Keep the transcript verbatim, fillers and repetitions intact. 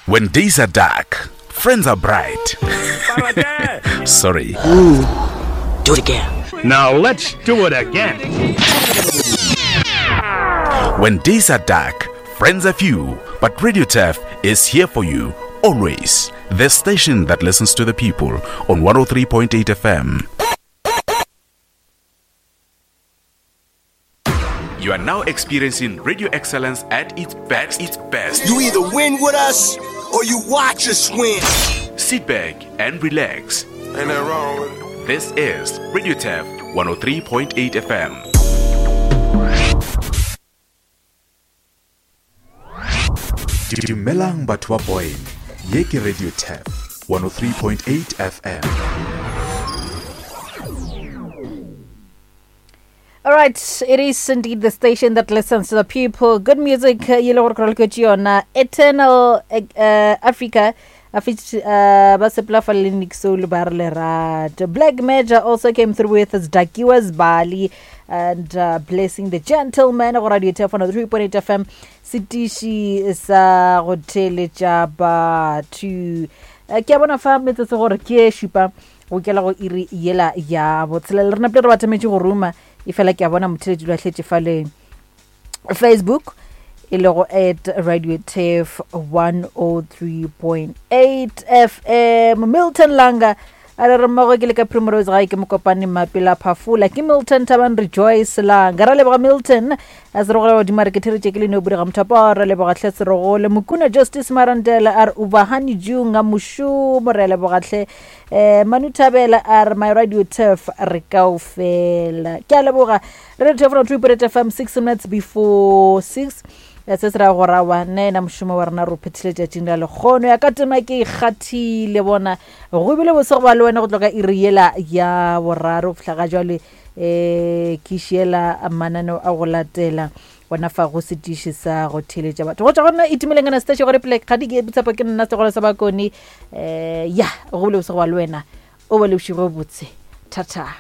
When days are dark, friends are bright. Sorry. Ooh, do it again. Now let's do it again. When days are dark, friends are few, but Radio Turf is here for you always. The station that listens to the people on one oh three point eight F M. You are now experiencing radio excellence at its best. Its best. You either win with us or you watch us win. Sit back and relax. Ain't that wrong with it? This is Radio Turf one oh three point eight F M. Dumelang batho ba Boyne. Ye ke Radio Turf one oh three point eight F M. All right, it is indeed the station that listens to the people. Good music, Eternal uh, Africa. Black Major also came through with his Dakiwas Bali and uh, Blessing the Gentleman. Radio Turf one oh three point eight F M. Sitishi sa go theletša batho. Ke a bona fa metsotso gore ke e šupa go kela go iri yela ya botshelela. Re napile re batametše go ruma e fela ke a bona motheletši o lahletše fale Facebook e lego at Radio Turf one oh three point eight F M. Milton Langa a re re mmogo ke le ka Primrose gae ke mokopane Mapela Phafola ke Milton Thaban Rejoice Langa. Ra leboga Milton a se rogola godimo a re ke theretše ke le no bodiga mothapo. Ra leboga hle Serogole Mokuna Justice Marandela a re Ubahani Junga mošomo. Re leboga hle eh Manu Thabela a re my Radio Turf re kaofela. Ke a leboga Radio Turf one oh three point eight F M, six minutes before six. Se se ra go rawa nna ena mošomo wa rena re o phethile tšatšing la lekgono ya ka tema ke ikgathile bona go bile bose go ba le wena go tloka iri yela ya boraro go fihla ga jwale um ke šiela mananeo a go latela gona fa go setiši sa go theeletša batho go tšwa go nna Itumeleng Anastasia gore pele ga di ke botshepo ke nna segolo sa bakone um ya go bile bose go ba le wena o be le bošego botse thata.